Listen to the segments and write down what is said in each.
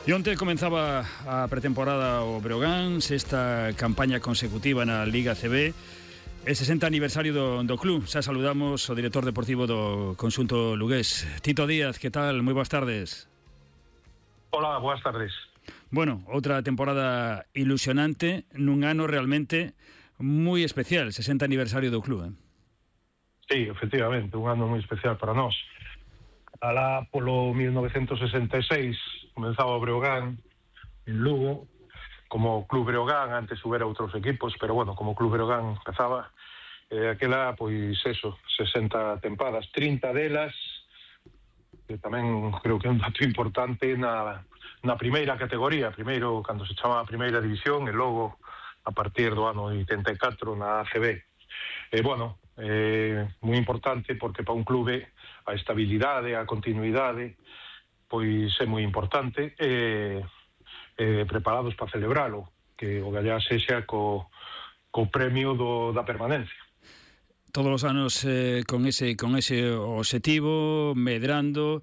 E onte comenzaba a pretemporada o Breogán, sexta campaña consecutiva na Liga CB, e 60 aniversario do club. Xa saludamos o director deportivo do conxunto lugués, Tito Díaz. Que tal? Moi boas tardes. Hola, boas tardes. Bueno, outra temporada ilusionante nun ano realmente moi especial, 60 aniversario do club, Sí, efectivamente, un ano moi especial para nós. Alá polo 1966 comenzaba o Breogán en Lugo como Club Breogán. Antes houbera outros equipos, pero bueno, como Club Breogán empezaba aquela, pois eso, 60 tempadas, 30 delas, que tamén creo que é un dato importante na primeira categoría, primeiro cando se chama a primeira división, e logo a partir do ano 84 na ACB. Bueno, moi importante porque para un clube a estabilidade, a continuidade, pois é moi importante, preparados para celebralo, que o gallá sexa co premio da permanencia. Todos os anos con ese obxectivo, medrando.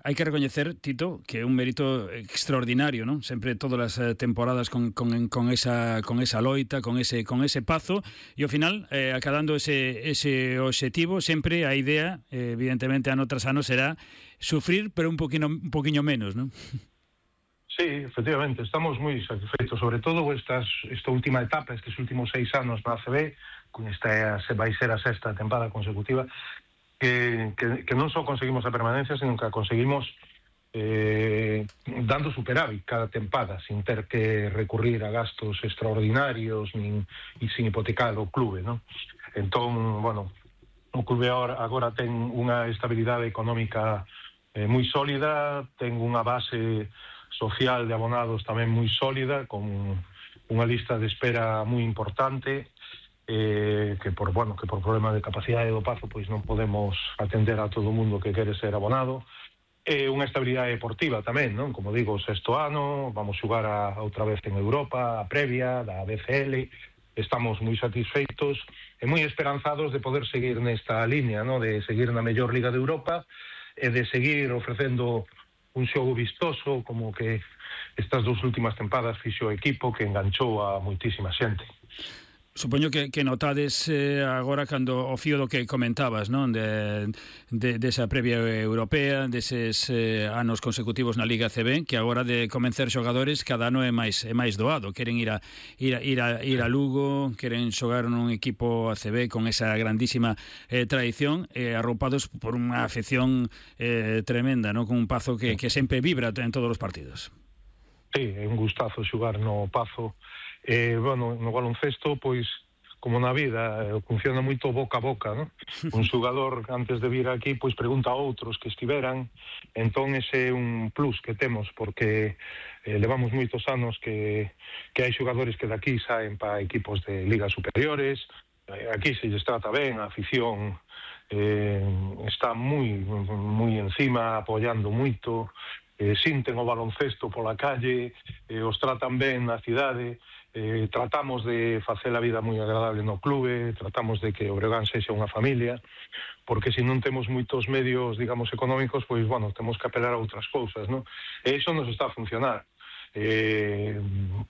Hai que recoñecer, Tito, que é un mérito extraordinario, non? Sempre todas as temporadas con esa loita, con ese pazo, e ao final, acadando ese obxectivo, sempre a idea, evidentemente, ano tras ano, será sufrir, pero un poquinho menos, non? Sí, efectivamente, estamos moi satisfeitos, sobre todo esta última etapa, estes últimos 6 anos na ACB, con esta vai ser a sexta tempada consecutiva, que non só conseguimos a permanencia, sino que a conseguimos dando superávit cada tempada, sin ter que recurrir a gastos extraordinarios e sin hipotecar o clube, non? Entón, bueno, o clube agora ten unha estabilidade económica moi sólida, ten unha base social de abonados tamén moi sólida, con unha lista de espera moi importante, que por problema de capacidade do pazo pois non podemos atender a todo o mundo que quere ser abonado. Unha estabilidade deportiva tamén, non? Como digo, o sexto ano, vamos xogar outra vez en Europa, a previa da BCL. Estamos moi satisfeitos e moi esperanzados de poder seguir nesta línea, non? De seguir na mellor Liga de Europa e de seguir ofrecendo un xogo vistoso como que estas 2 últimas tempadas fixo o equipo, que enganchou a moitísima xente. Supoño que notades agora cando o fío do que comentabas, non? Desa previa europea, deses anos consecutivos na Liga CB, que agora de convencer xogadores cada ano é máis doado. Queren ir a Lugo, queren xogar nun equipo ACB con esa grandísima tradición, arroupados por unha afección tremenda, non? Con un Pazo que sempre vibra en todos os partidos. Sí, é un gustazo xogar no Pazo. Bueno, no baloncesto, pois, como na vida, funciona moito boca a boca, non? Un xogador, antes de vir aquí, pois pregunta a outros que estiveran, entón ese é un plus que temos, porque levamos moitos anos que hai xogadores que daqui saen para equipos de ligas superiores, aquí se lles trata ben, a afición está moi encima, apoiando moito, sinten o baloncesto pola calle, os tratan ben na cidade. Tratamos de facer a vida moi agradable no clube, tratamos de que o Breogán sexa unha familia, porque se non temos moitos medios, digamos, económicos, pois, bueno, temos que apelar a outras cousas, non? E iso nos está a funcionar.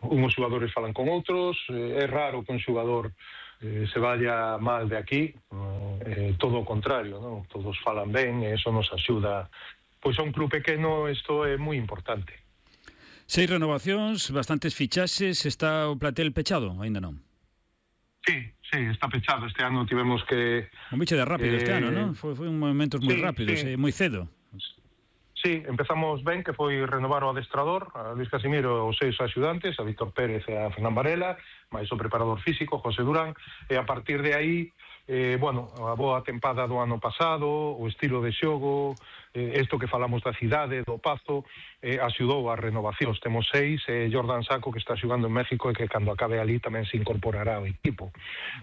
Unhos xogadores falan con outros, é raro que un xogador se vaya mal de aquí, todo o contrario, non? Todos falan ben, e iso nos axuda. Pois a un club pequeno isto é moi importante. 6 renovacións, bastantes fichaxes. Está o plantel pechado? Ainda non? Sí, está pechado. Este ano tivemos que... Un bicho de rápido este ano, non? Foi un momentos moi rápidos, moi cedo. Sí, empezamos ben, que foi renovar o adestrador, a Luis Casimiro, os 6 axudantes, a Víctor Pérez e a Fernán Varela, máis o preparador físico, José Durán, e a partir de aí, a boa tempada do ano pasado, o estilo de xogo, isto que falamos da cidade, do Pazo, axudou a renovacións. Temos 6, Jordan Saco, que está xogando en México, e que cando acabe ali tamén se incorporará ao equipo.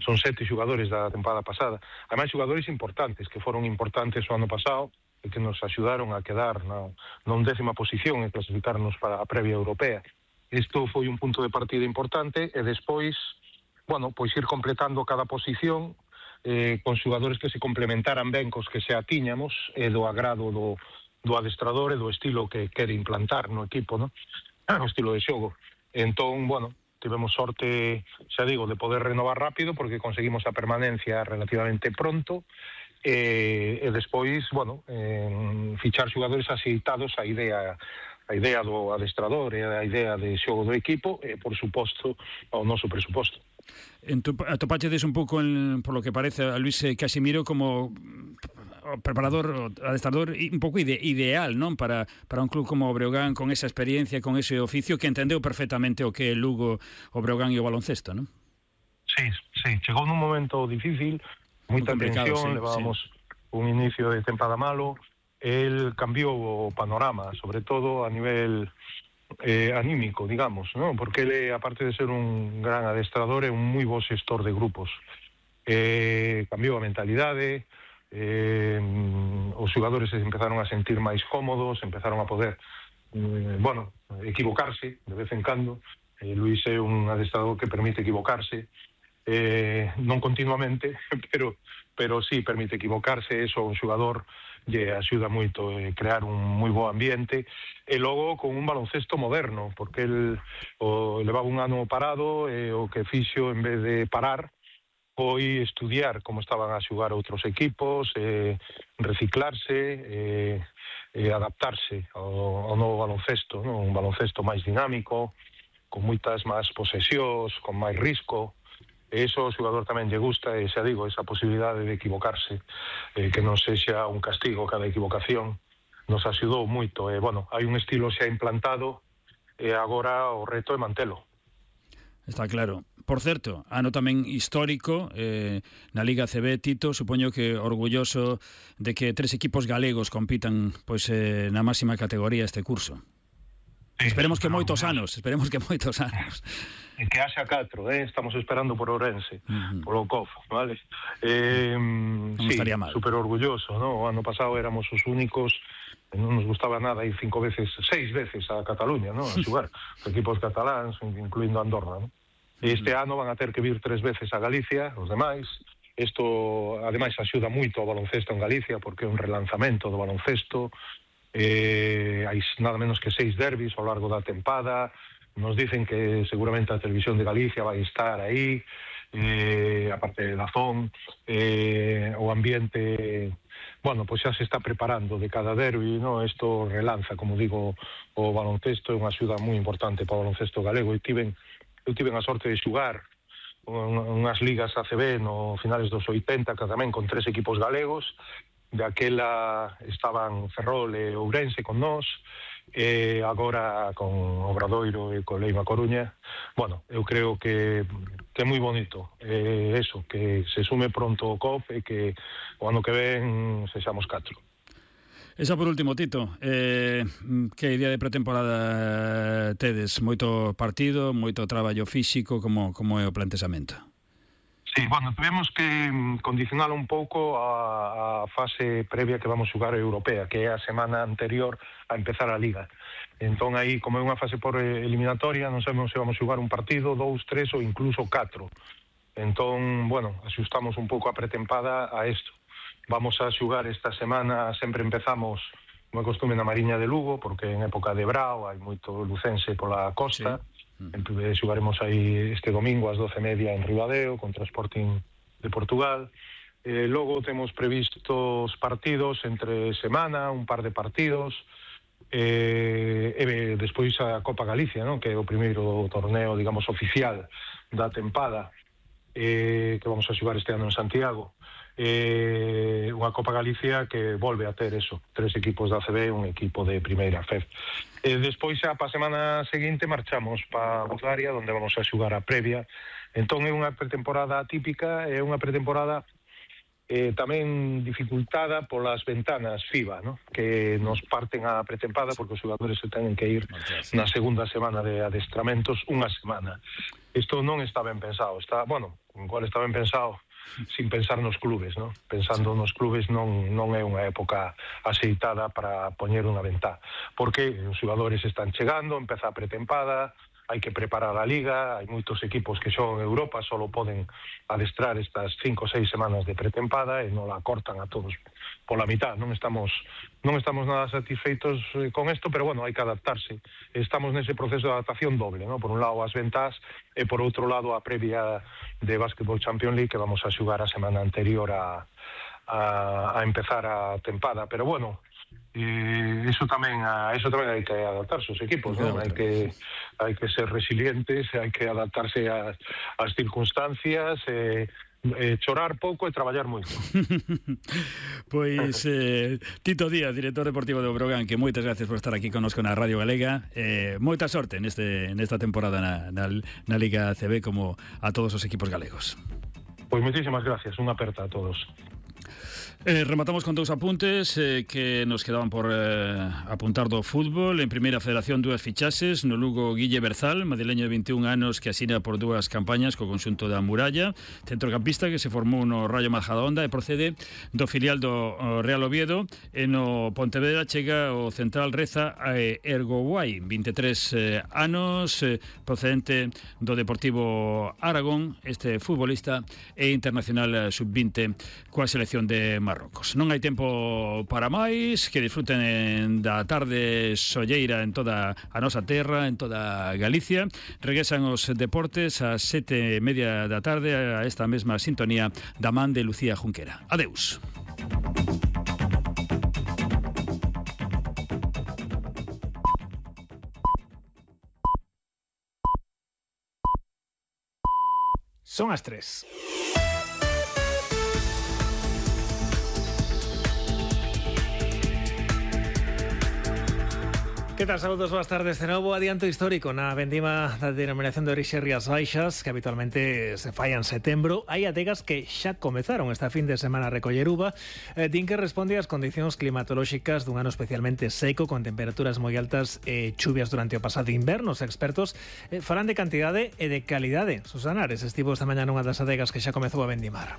Son 7 xogadores da tempada pasada. Ademais, xogadores importantes, que foron importantes o ano pasado, e que nos axudaron a quedar na 11ª posición e clasificarnos para a previa europea. Isto foi un punto de partida importante, e despois, pois ir completando cada posición con xogadores que se complementaran ben cos que xa tiñamos, e do agrado do adestrador e do estilo que quere implantar no equipo, no? O estilo de xogo. Entón, bueno, tivemos sorte, xa digo, de poder renovar rápido porque conseguimos a permanencia relativamente pronto e despois, bueno, fichar xogadores axeitados a idea do adestrador e a idea de xogo do equipo e, por suposto, ao noso presuposto. Atopachedes un pouco, por lo que parece, a Luis Casimiro como o preparador, o adestrador un pouco ideal, non? Para un club como o Breogán, con esa experiencia, con ese oficio, que entendeu perfectamente o que é Lugo, o Breogán e o baloncesto, non? Sí, chegou nun momento difícil, moita tensión, levábamos un inicio de tempada malo, el cambiou o panorama, sobre todo a nivel anímico, digamos, ¿no? Porque ele, aparte de ser un gran adestrador, é un moi bo xestor de grupos. Cambiou a mentalidade, os xogadores se empezaron a sentir máis cómodos, empezaron a poder, bueno, equivocarse de vez en cando. Luis é un adestrador que permite equivocarse, non continuamente, pero sí permite equivocarse. Eso o xogador lle axuda moito a crear un moi bo ambiente, e logo con un baloncesto moderno, porque el levaba un ano parado e o que fixo, en vez de parar, foi estudiar como estaban a xogar outros equipos, reciclarse, adaptarse ao novo baloncesto, non? Un baloncesto máis dinámico, con moitas máis posesións, con máis risco. E iso o xogador tamén lle gusta, e xa digo, esa posibilidade de equivocarse, que non sexa un castigo cada equivocación, nos axudou moito. Bueno, hai un estilo xa implantado, e agora o reto é mantelo. Está claro. Por certo, ano tamén histórico na Liga ACB, Tito, supoño que orgulloso de que 3 equipos galegos compitan pois na máxima categoría este curso. Sí, esperemos que moitos anos. E que haxa 4, estamos esperando por Ourense, polo COF, vale? Non estaría mal. Super orgulloso, ¿no? O ano pasado éramos os únicos, non nos gustaba nada ir 6 veces a Cataluña, ¿no? A xogar, os equipos cataláns, incluindo Andorra, ¿no? Este ano van a ter que vir 3 veces a Galicia, os demais. Isto, ademais, axuda moito ao baloncesto en Galicia, porque é un relanzamento do baloncesto. Hai nada menos que 6 derbis ao largo da tempada. Nos dicen que seguramente a Televisión de Galicia vai estar aí, aparte de Dazón. O ambiente, bueno, pois xa se está preparando de cada derbi, ¿no? Isto relanza, como digo, o baloncesto, é unha axuda moi importante para o baloncesto galego. Eu tiven a sorte de xugar unhas ligas ACB no finales dos 80, que tamén con 3 equipos galegos. De aquela estaban Ferrol e Ourense con nós, e agora con Obradoiro e con Leima Coruña. Bueno, eu creo que é moi bonito eso, que se sume pronto o COP e que o ano que ven sexamos 4. Esa por último, Tito, que idea de pretemporada tedes? Moito partido, moito traballo físico, como é o plantexamento? Sí, bueno, tuvemos que condicionar un pouco a fase previa que vamos xogar europea, que é a semana anterior a empezar a Liga. Entón, aí, como é unha fase por eliminatoria, non sabemos se vamos xogar un partido, 2, 3 ou incluso 4. Entón, bueno, axustamos un pouco a pretempada a isto. Vamos a xogar esta semana, sempre empezamos, como é costume, na Mariña de Lugo, porque en época de brao hai moito lucense pola costa. Sí. Xogaremos aí este domingo ás 12:30 en Ribadeo contra o Sporting de Portugal. Logo temos previstos partidos entre semana, un par de partidos, e despois a Copa Galicia, ¿no? Que é o primeiro torneo, digamos, oficial da tempada, que vamos a xogar este ano en Santiago. Unha Copa Galicia que volve a ter eso, 3 equipos da ACB e un equipo de primeira FED. Despois xa pa semana seguinte marchamos pa Bulgaria, onde vamos a xugar a previa. Entón é unha pretemporada atípica, é unha pretemporada tamén dificultada polas ventanas FIBA, ¿no? Que nos parten a pretempada porque os xogadores se tenen que ir na segunda semana de adestramentos unha semana. Isto non está ben pensado, igual está ben pensado sin pensar nos clubes, ¿no? Pensando nos clubes non é unha época axeitada para poñer unha ventá, porque os xogadores están chegando, empeza a pretempada, hai que preparar a Liga, hai moitos equipos que xogan en Europa, solo poden adestrar estas 5 ou 6 semanas de pretempada e non la cortan a todos pola mitad. Non estamos nada satisfeitos con isto, pero bueno, hai que adaptarse. Estamos nese proceso de adaptación doble, ¿no? Por un lado as ventas e por outro lado a previa de Basketball Champions League que vamos a xugar a semana anterior a empezar a tempada, pero bueno, eso tamén hai que adaptarse os equipos, ¿no? Hai que ser resilientes, hai que adaptarse ás circunstancias, chorar pouco e traballar moito. Pois Tito Díaz, director deportivo do Brogan, que moitas gracias por estar aquí connosco na Radio Galega, moita sorte nesta temporada na Liga ACB, como a todos os equipos galegos. Pois moitísimas gracias, unha aperta a todos. Rematamos con dous apuntes que nos quedaban por apuntar do fútbol. En Primeira Federación, dúas fichaxes. No Lugo, Guille Berzal, madrileño de 21 anos, que asina por dúas campañas co conxunto da Muralla, centrocampista que se formou no Rayo Majadahonda e procede do filial do Real Oviedo. E no Pontevedra chega o central Reza Ergoguai, 23 anos, procedente do Deportivo Aragón. Este futbolista é internacional sub-20 coa selección de Marrocos. Non hai tempo para máis, que disfruten da tarde solleira en toda a nosa terra, en toda Galicia. Regresan os deportes ás 7:30 da tarde a esta mesma sintonía da man de Lucía Junquera. Adeus. Son as 3. Que tal, saludos, boas tardes de novo. Adianto histórico na vendima da denominación de orixe Rías Baixas, que habitualmente se fai en setembro. Hai adegas que xa comezaron esta fin de semana a recoller uva. Din que responde ás condicións climatolóxicas dun ano especialmente seco, con temperaturas moi altas e chuvias durante o pasado inverno. Os expertos falan de cantidade e de calidade. Susana Ares estivo esta mañá nunha das adegas que xa comezou a vendimar.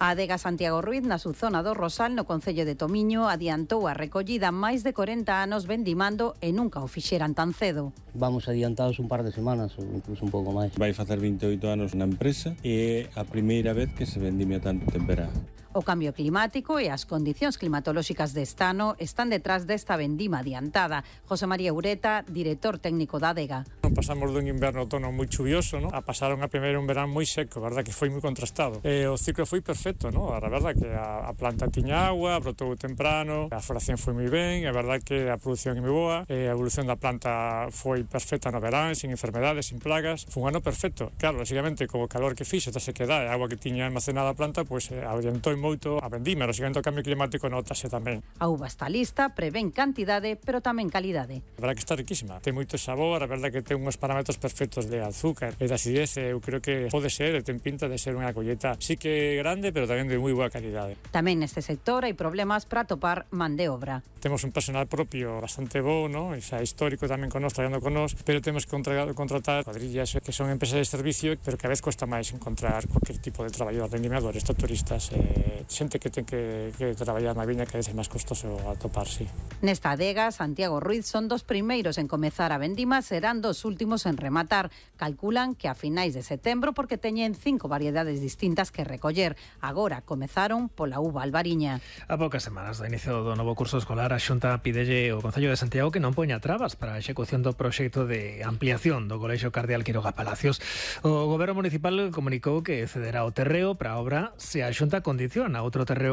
A adega Santiago Ruiz, na subzona do Rosal, no concello de Tomiño, adiantou a recollida máis de 40 anos vendimando e nunca o fixeran tan cedo. Vamos adiantados un par de semanas ou incluso un pouco máis. Vai facer 28 anos na empresa e é a primeira vez que se vendime a tanto temperá. O cambio climático e as condicións climatolóxicas deste ano están detrás desta vendima adiantada. José María Ureta, director técnico da adega. Pasamos dun inverno-outono moi chuvioso, ¿no? A pasaron a primeiro un verán moi seco, verdad que foi moi contrastado. O ciclo foi perfecto, ¿no? A verdad que a planta tiña agua, brotou temprano, a floración foi moi ben, a verdad que a produción é moi boa, a evolución da planta foi perfecta no verán, sin enfermedades, sin plagas. Foi un ano perfecto. Claro, lógicamente, co calor que fixo, esta sequedade, a agua que tiña almacenada a planta, pois adiantou moito a vendima, lógicamente o cambio climático notase tamén. A uva está lista, prevén cantidade, pero tamén calidade. A verdad que está riquísima, ten moito sabor, a verdad que ten unhos parámetros perfectos de azúcar e de acidez, eu creo que pode ser, ten pinta de ser unha colleta sí que grande, pero tamén de moi boa calidade. Tamén neste sector hai problemas para atopar man de obra. Temos un personal propio bastante bo, ¿no? Xa histórico tamén con nós, traballando con nós, pero temos que contratar cuadrillas que son empresas de servicio, pero que a vez cuesta máis encontrar cualquier tipo de traballador, vendimiadores, turistas, xente que ten que traballar na viña, que é máis costoso atopar, sí. Nesta adega, Santiago Ruiz son dos primeiros en comezar a vendima, serán dos últimos en rematar. Calculan que a finais de setembro, porque teñen 5 variedades distintas que recoller. Agora comezaron pola uva albariña. A poucas semanas do inicio do novo curso escolar, a Xunta pidelle ao Concello de Santiago que non poña trabas para a execución do proxecto de ampliación do Colexio Cardeal Quiroga Palacios. O Goberno Municipal comunicou que cederá o terreo para a obra se a Xunta condiciona outro terreo